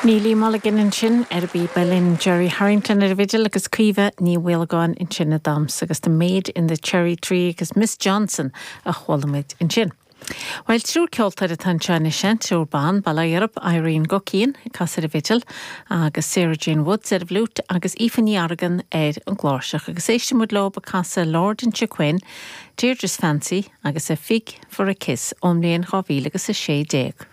Neilí Mulligan ansin ar an bpíb uilleann, Gerry Harrington ar an bhfidil agus Caoimhe Ní Mhaolagáin ansin ag damhsa agus The Maid in the Cherry Tree agus Miss Johnson a chuala muid ansin. Bhuel, triúr ceoltóir atá anseo anois, an triúr ban, bail ó Dhia orthu, Irene Guckian ag casadh ar an bhfidil agus Sarah Jane Woods ar an bhfliúit agus Aoife Ní Argain ar an gcláirseach agus éistfidh muid leo ag casadh Lord Inchiquin, Deirdre's Fancy agus A Fig for a Kiss ón mbliain 2016.